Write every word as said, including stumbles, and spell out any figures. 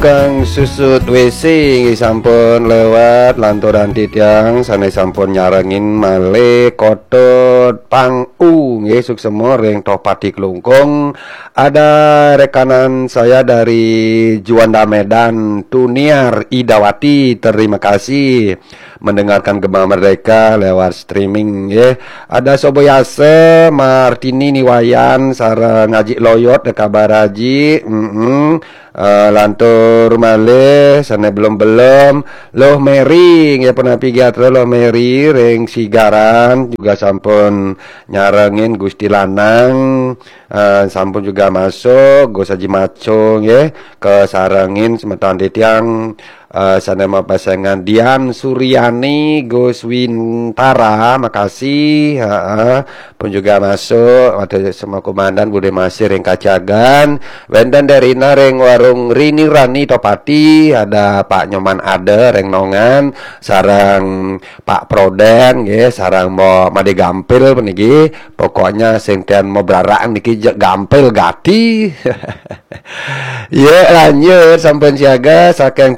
Kang Susut W C nggih sampun lewat, lanturan titiang sane sampun nyarengin malih Kotot Pang U nggih, suksema ring Tohpati Klungkung. Ada rekanan saya dari Juanda Medan, Tuniar Idawati, terima kasih mendengarkan Gema Merdeka lewat streaming nggih. Ada Soboyasa, Martini Niwayan, sareng Aji Loyot, kabar Aji. Mm-mm. Eh, lantur malih sane belum-belum, Loh Mary nggih, punapi gatra Loh Mary ring Sigaran juga sampun nyarengin Gusti Lanang, eh, sampun juga masuk Gus Haji Maco nggih, kesarengin semeton titiang, eh, sane mapesengan Dian Suryani, Gus Wintara, makasih, heeh. Pun juga masuk, ada semua komandan Bude Masih ring Kacagan, wenten Derina ring Warung Rini Rani Topati, ada Pak Nyoman Ada ring Nongan, sareng Pak Proden nggih, sareng Mbok Made Gampil puniki. Pokoknya sing ten mau beraraan niki je-, gampil gati. Ya, lanjut sampun siaga saking